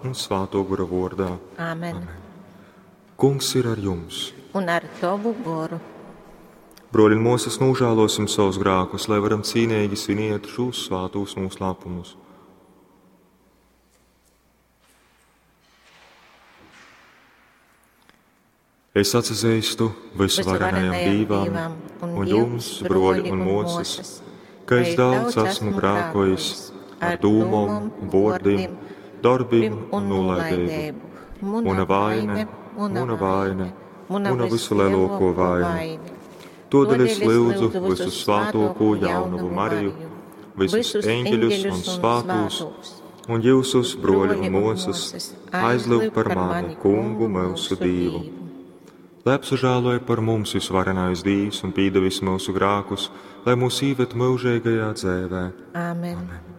un Svātō Gora vōrdā. Āmen. Amen. Kungs ir ar jums. Un ar tovu goru. Broļi un mosas, nožēlosim savus grēkus, lai varam cīnīgi sviniet šos svātos noslēpumus. Es atzīstu visvarenajam Dievam un jums, broļi un mosas, ka es daudz esmu grēkojis ar dūmom, vārdiem, darbiem un nolaidību. Muna vaine, muna vaine, muna visulielāko vaina. Todēļ es lūdzu visu svātoko jaunavu Mariju, visus eņģeļus un svātos, un jūsus, broļi un mosas, aizlūgt par mani, kungu mūsu Dievu. Lai apsažāloja par mums visvarenais Dievs un pīdevis mūsu grākus, lai mūs īved mūžīgajā dzēvē. Āmen. Amen.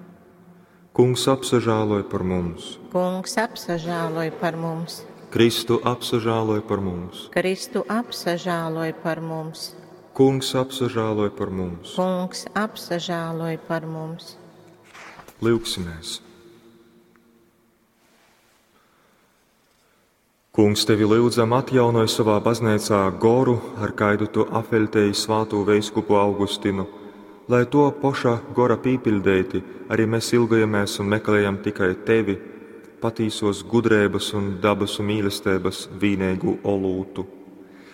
Kungs apsažāloja par mums. Kungs apsažāloja par mums. Kristu apsažāloja par mums. Kristu apsažāloja par mums. Kungs apsažāloja par mums. Kungs apsažāloja par mums. Lūgsimies! Kungs, tevi lūdzam, atjaunoj savā baznīcā goru, ar kaidu tu apveļtēji svātū veiskupu Augustinu, lai to poša gora pīpildēti arī mēs ilgojamies un meklējam tikai tevi, patīsos gudrības un dabas un mīlestības vīnēgu olūtu.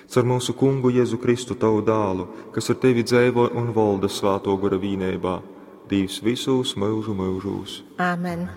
Caur mūsu kungu Jēzu Kristu tavu dālu, kas ar tevi dzēvo un valda svāto gora vīnībā, Dievs visos mūžu mūžos. Āmen.